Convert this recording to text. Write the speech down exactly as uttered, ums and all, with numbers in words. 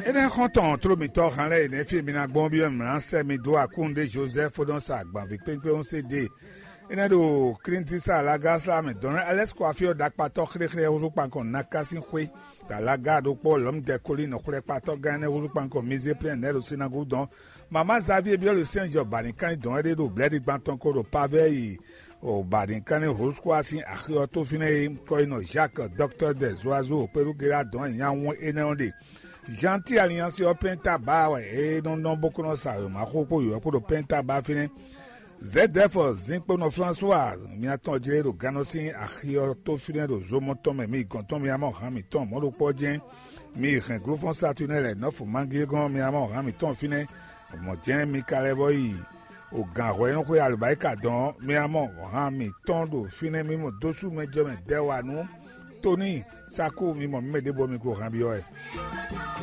Énɛ́ xɔ́ntɔn tló mǐtɔn han lɛ́ɛ e nɛ́ fí e mi ná gbɔn byɔ́ mǐ ná sɛ́ mi dó akúnnu ɖé Jozɛ́fu ɖɔn sa agbanví kpékpé ɔ́ sé ɖe. Énɛ́ ɖo Klíntisa Lagása mɛ dɔn Alɛ́sikɔ afí ɔ́ ɖakpatɔ́ xlexlé húzú kpankɔn Naká sín xwé. Talaga ɖokpó Lɔ̌mudɛkolín xwlɛ́kpatɔ́ gán énɛ́ húzú kpankɔn Mizéplɛ́n nɛ́ ɖo sinagogu dɔn. Mama Zavíe byɔ́ ɖo sɛ́n jɔ bǎninkánní dɔn é ɖé ɖo blɛ̌ɖigban tɔn ko ɖo Pavɛ́yi o bǎninkánní húzú kó wá sín axi ɔ́ tó fínɛ́ é. Kɔ yi nɔ Jacques, dɔktɔ́ dɛ Zoazo kpéɖú Gera dɔn nya wɔn énɛ́ ɔ́ ɖe. Jean-Ti Alliance ɔ́ pɛ́n ta bá wɛ é nɔ nɔ bó kó nɔ sa wěma xó kpó yǒyɔ kpó ɖo pɛ́n ta bá fínɛ́. Zɛ̌dɛ́fɔ Zinkponɔ Flánsuwa mia tɔn jlé ɖo gannɔ sín axi ɔ́ tó fínɛ́ ɖo zomɔ tɔn mɛ mi gɔn tɔn mia mɔ han mǐtɔn mɔ̌ ɖokpó ɔ́ jɛ́n. Mi yi hɛn glófɔ́n Satunɛ́ lɛ̌ nɔ́ fo mangígɔ́n mia mɔ han mǐtɔn fínɛ́. Mɔ̌ jɛ́n mi ka lɛ́ vɔ yi o gǎnhwɛ́núxwé alɔbáyíka dɔn ɔ́, mia mɔ han mǐtɔn ɖo fínɛ́ mi mɔ dó sú mɛ jɔ mɛ dɛ́ wa nú Tóní Sakú mi mɔ mǐ mɛ ɖěbǔ ɔ́ mi glo han byɔ́ wɛ.